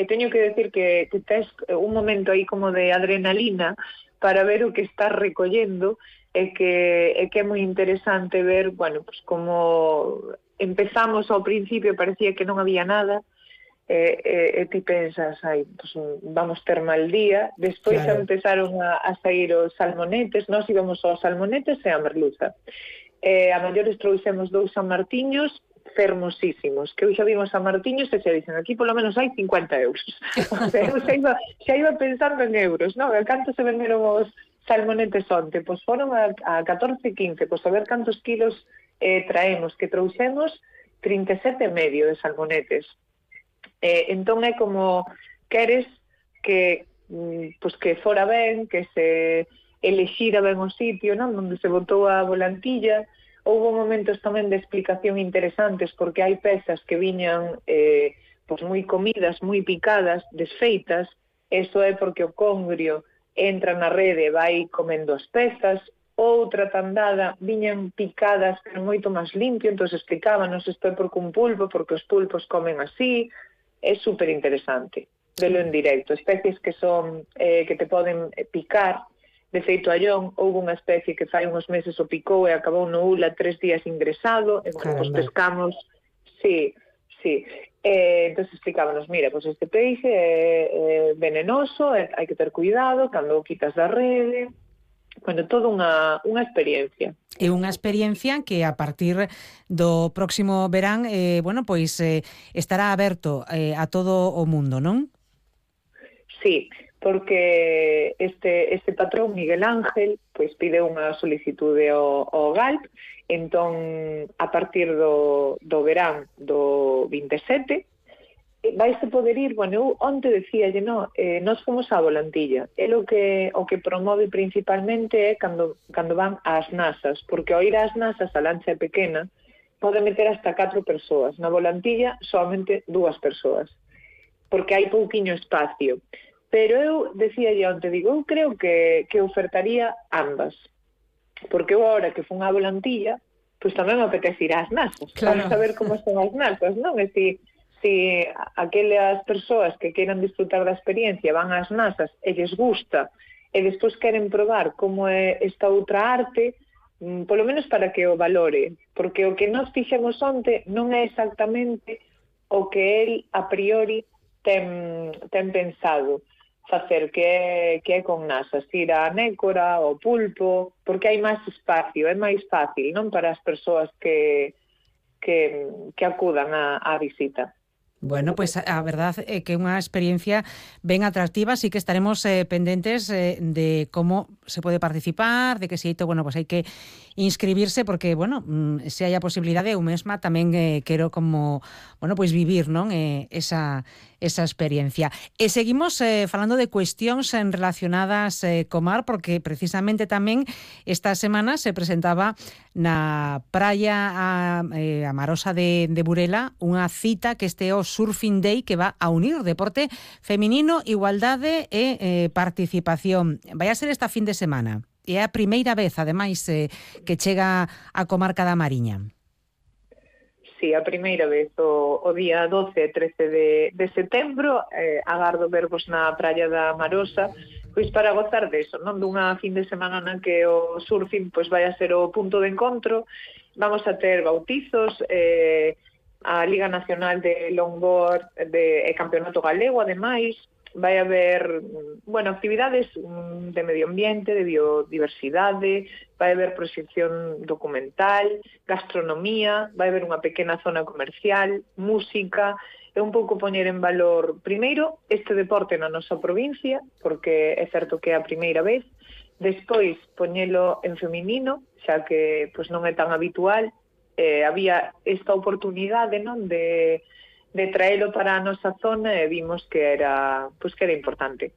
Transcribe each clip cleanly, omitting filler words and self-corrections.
teño que decir que tes un momento aí como de adrenalina para ver o que estás recollendo e que é moi interesante ver, bueno, pues como empezamos ao principio parecía que non había nada e ti pensas, ai, pues vamos ter mal día, despois Claro. empezaron a sair os salmonetes, nós íbamos aos salmonetes e a merluza. A maiores trouxemos 2 sanmartiños fermosísimos, que hoxe xa vimos sanmartiños e xa dicen, aquí polo menos hai 50 euros. O sea, eu xa iba pensando en euros, non? Canto se venderon os salmonetes onte? Pois foron a 14, 15, pois a ver cantos kilos traemos, que trouxemos 37,5 de salmonetes. Entón é como queres que pois que fora ben, que se elexira ben o sitio, non? Onde se botou a volantilla. Houve momentos tamén de explicación interesantes porque hai pezas que viñan pois moi comidas, moi picadas, desfeitas. Eso é porque o congrio entra na rede e vai comendo as pezas. Outra tandada viñan picadas pero moito máis limpio, entón explicábanos isto é porque un pulpo, porque os pulpos comen así. É super interesante velo en directo. Especies que son que te poden picar. De feito, a Llón houve unha especie que fai uns meses o picou e acabou no ULA 3 días ingresado, e bueno, pues pescamos, sí. Entón explicábanos, mira, pues este peixe é venenoso, hai que ter cuidado cando o quitas da rede. Bueno, toda unha experiencia. É unha experiencia que a partir do próximo verán, bueno, pois estará aberto a todo o mundo, non? Sí, porque este patrón, Miguel Ángel, pois pide unha solicitude ao GALP, entón, a partir do verán do 27, vaise poder ir, bueno, eu onte decíalle, nós fomos á volantilla, o que promove principalmente é cando van ás nasas, porque ao ir ás nasas a lancha é pequena, pode meter hasta 4 persoas, na volantilla solamente 2 persoas, porque hai pouquiño espacio. Pero eu decíalle onte, digo, eu creo que ofertaría ambas, porque eu agora que fun á volantilla, pois tamén me apetece ir ás nasas, para saber como son as nasas, non? E si aquelas persoas que queiran disfrutar da experiencia van ás nasas e lles gusta e despois queren probar como é esta outra arte, polo menos para que o valore, porque o que nós fixemos onte non é exactamente o que el a priori ten pensado facer, que é con nasas, ir á nécora, ao pulpo, porque hai máis espacio, é máis fácil, non, para as persoas que acudan á visita. Bueno, pues a verdad que é unha experiencia ben atractiva, así que estaremos pendentes de como se pode participar, de que se bueno, pues hai que inscribirse porque, bueno, se hai a posibilidade, eu mesma tamén quero como, bueno, pues vivir, non, esa experiencia. E seguimos falando de cuestións relacionadas co mar, porque precisamente tamén esta semana se presentaba na praia Amarosa de Burela unha cita que este é o Surfing Day, que va a unir deporte feminino, igualdade e participación. Vai a ser esta fin de semana. É a primeira vez, ademais, que chega a comarca da Mariña. Sí, a primeira vez, o día 12 e 13 de setembro, agardo vervos na praia da Amarosa, pois para gozar deso, non? Dunha fin de semana na que o surfing pois vai a ser o punto de encontro. Vamos a ter bautizos, a Liga Nacional de Longboard e Campeonato Galego, ademais. Vai haber, bueno, actividades de medio ambiente, de biodiversidade, vai haber proxección documental, gastronomía, vai haber unha pequena zona comercial, música, e un pouco poñer en valor, primeiro, este deporte na nosa provincia, porque é certo que é a primeira vez, despois poñelo en feminino, xa que pois non é tan habitual, había esta oportunidade, non, de traelo para a nosa zona e vimos que era importante.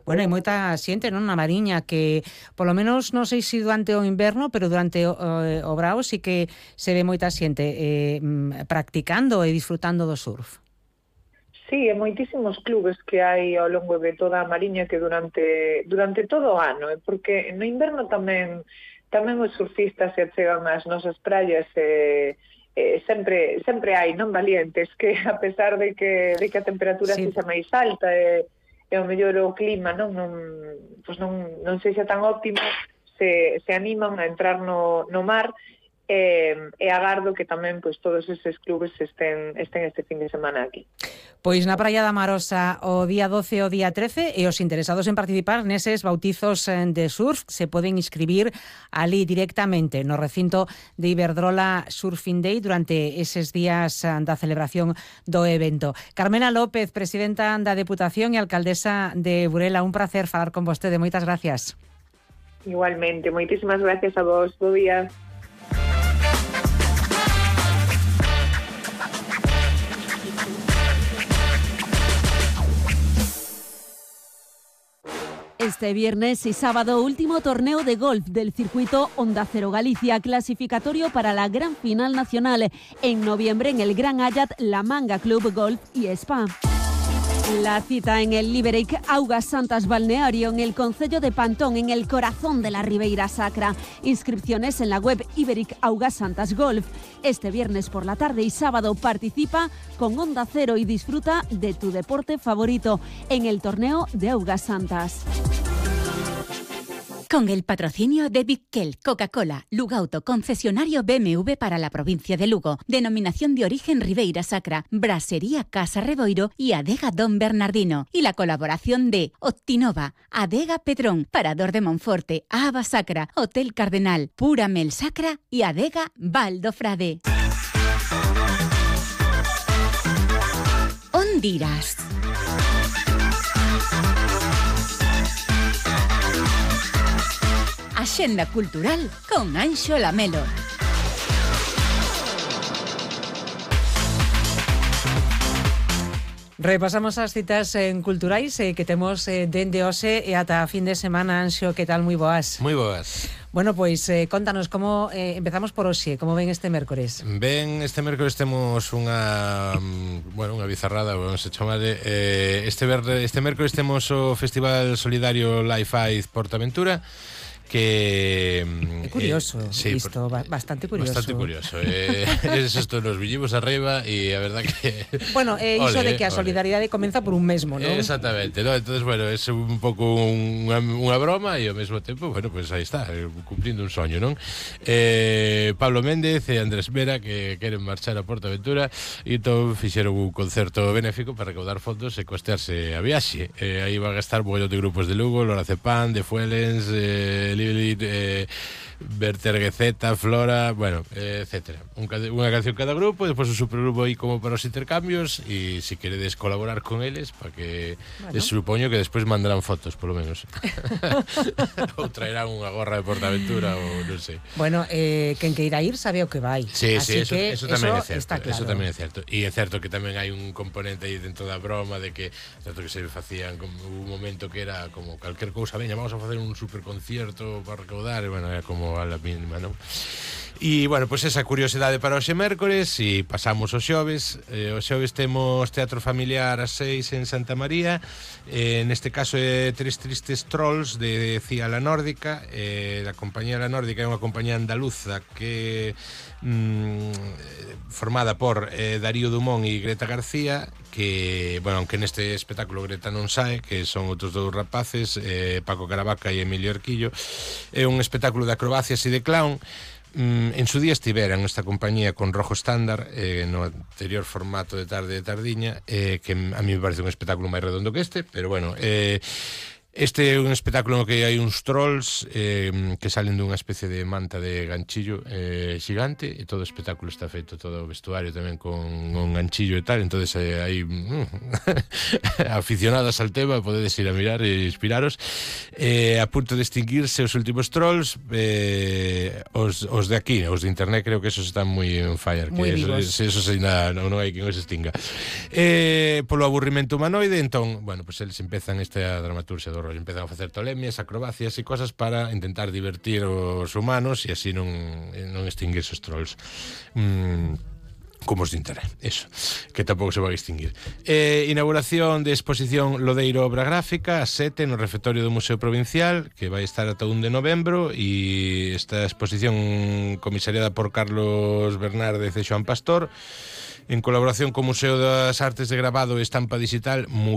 Bueno, hai moita xente, non, na Mariña que, polo menos, non sei se durante o inverno, pero durante o brao sí que se ve moita xente practicando e disfrutando do surf. Sí, e moitísimos clubes que hai ao longo de toda a Mariña que durante todo o ano, porque no inverno tamén os surfistas se achegan ás nosas praias e sempre hai non valientes que a pesar de que a temperatura sexa máis alta e o mellor o clima non sexa tan óptimo, se animan a entrar no mar, e agardo que tamén pois todos eses clubes estén este fin de semana aquí. Pois na Praia da Marosa o día 12 e o día 13 e os interesados en participar neses bautizos de surf se poden inscribir ali directamente no recinto de Iberdrola Surfing Day durante eses días da celebración do evento. Carmela López, presidenta da Deputación e alcaldesa de Burela, un placer falar con vostede. Moitas gracias. Igualmente, moitísimas gracias a vos. Bo día. Este viernes y sábado, último torneo de golf del circuito Onda Cero Galicia, clasificatorio para la gran final nacional. En noviembre, en el Gran Ayat, La Manga Club Golf y Spa. La cita en el Iberic Augas Santas Balneario, en el concello de Pantón, en el corazón de la Ribeira Sacra. Inscripciones en la web Iberic Augas Santas Golf. Este viernes por la tarde y sábado participa con Onda Cero y disfruta de tu deporte favorito en el torneo de Augas Santas. Con el patrocinio de Bitkel, Coca-Cola, Lugauto, concesionario BMW para la provincia de Lugo, denominación de origen Ribeira Sacra, Brasería Casa Reboiro y Adega Don Bernardino. Y la colaboración de Optinova, Adega Pedrón, Parador de Monforte, Ava Sacra, Hotel Cardenal, Pura Mel Sacra y Adega Valdo Frade. Hondiras. Axenda cultural con Anxo Lamelo. Repasamos as citas culturais que temos dende hoxe e ata fin de semana. Anxo, que tal? Moi boas. Moi boas. Bueno, pois contanos como empezamos por hoxe, como ven este mércores. Ben, este mércores temos unha bizarrada, vamos a chamarle. Este mércores temos o Festival Solidario Life Aid Portaventura, que é curioso, sí, isto, bastante curioso. Bastante curioso. Esto nos viñimos arriba e a verdad que bueno, iso de que a solidaridade comeza por un mesmo, non? Exactamente, ¿no? Entonces, bueno, é un pouco unha broma e ao mesmo tempo, bueno, pues aí está, cumplindo un soño, non? Pablo Méndez e Andrés Vera que queren marchar a Portaventura e entón fixeron un concerto benéfico para recaudar fondos e costearse a viaxe. Aí van a estar un montón de grupos de Lugo, Lora Cepan, de Fuelens, Lilith, Berterguezeta, Flora, bueno, etcétera. Unha canción cada grupo, e despois un supergrupo aí como para os intercambios, e se queredes colaborar con eles, para que les supoño que despois mandarán fotos, polo menos. Ou traerán unha gorra de Portaventura, ou non sei. Bueno, quen queira ir sabe o que vai. Sí, así sí, eso tamén é certo. Está claro. Eso tamén é certo. E é certo que tamén hai un componente aí dentro da broma de que certo que se facían como un momento que era como calquer cousa, veña, vamos a facer un superconcierto para recaudar, e bueno, era como a la mínima, non? E, bueno, pois esa curiosidade para hoxe mércores e pasamos os xoves. Os xoves temos Teatro Familiar ás 6 en Santa María, neste caso é Tres Tristes Trolls de Cía La Nórdica. A compañía La Nórdica é unha compañía andaluza que formada por Darío Dumont e Greta García, que, bueno, aunque neste espectáculo Greta non sae, que son outros dous rapaces, Paco Caravaca e Emilio Arquillo. É un espectáculo de acrobacias e de clown. En su día estiveran esta compañía con Rojo Estándar, no anterior formato de tarde de tardiña, que a mí me parece un espectáculo máis redondo que este, pero bueno, este é un espectáculo no que hai uns trolls que salen dunha especie de manta de ganchillo xigante, e todo o espectáculo está feito, todo o vestuario tamén con un ganchillo e tal, entonces hai aficionadas al tema, podedes ir a mirar e inspiraros. A punto de extinguirse os últimos trolls, os de aquí, os de internet, creo que esos están moi on fire, muy que vivos. esos ainda non hai quen os extinga. Polo aburrimento humanoide, entón, bueno, pues eles empezan esta dramaturgia do rollo, empezan a facer tolemias, acrobacias e cosas para intentar divertir os humanos e así non extinguirse os trolls. como os de internet, eso, que tampouco se vai extinguir. Inauguración de exposición Lodeiro Obra Gráfica a 7 no refectorio do Museo Provincial, que vai estar ata 1 de novembro, e esta exposición comisariada por Carlos Bernárdez e Xoán Pastor, en colaboración co Museo das Artes de Grabado e Estampa Digital,